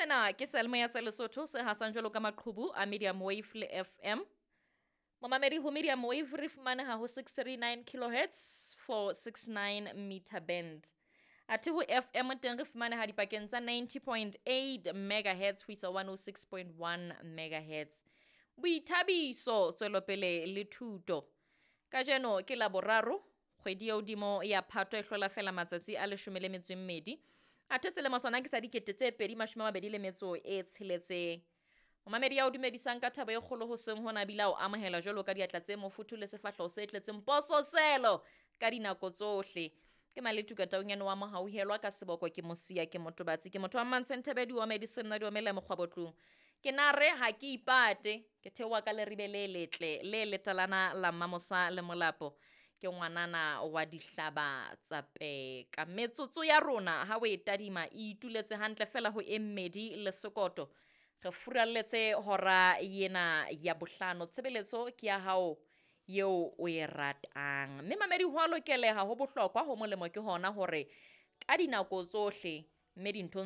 Sena ke seyalemoya sa Lesotho se hasang jwalo ka maqhubu a medium wave le FM. Momamedi ho medium wave re fumaneha ho 639 kilohertz 469 meter band. Athe ho FM teng re fumaneha dipakeng tsa 90.8 megahertz ho isa 106.1 megahertz. Boithabiso, tswelopele le thuto. Kajeno ke Laboraro, kgwedi ya hodimo ya Phato e hlola fela matsatsi a 12. Athe selemo sona ke sa 2026. Momamedi ya o dumedisang ka thabo e kgolo hoseng hona ebile a o amohela jwalo ka diatla tse mofuthu le sefahleho se tletseng pososelo ka dinako tsohle. Ke Maletuka Taunyane wa Mohauhelwa ka seboko ke Mosia ke Motobatsi ke motho wa Mmantshenthebe diome di senna diome le mokgwabotlung. Ke nare ha ke ipate ke theoha ka leribe le letle le letalana la Mmamosa le Molapo. Ke ngwanana wa dihlaba tsa peka. Metsotso ya rona ha o e tadima e ituletse hantle fela ho e mmedi le sekoto. Re furalletse hora yena ya bohlano. Tshebeletso ke ya hao eo o e ratang. Mme mamedi ho a lokeleha ho bohlokwa ho molemo ke hona hore ka dinako tsohle mme dinthong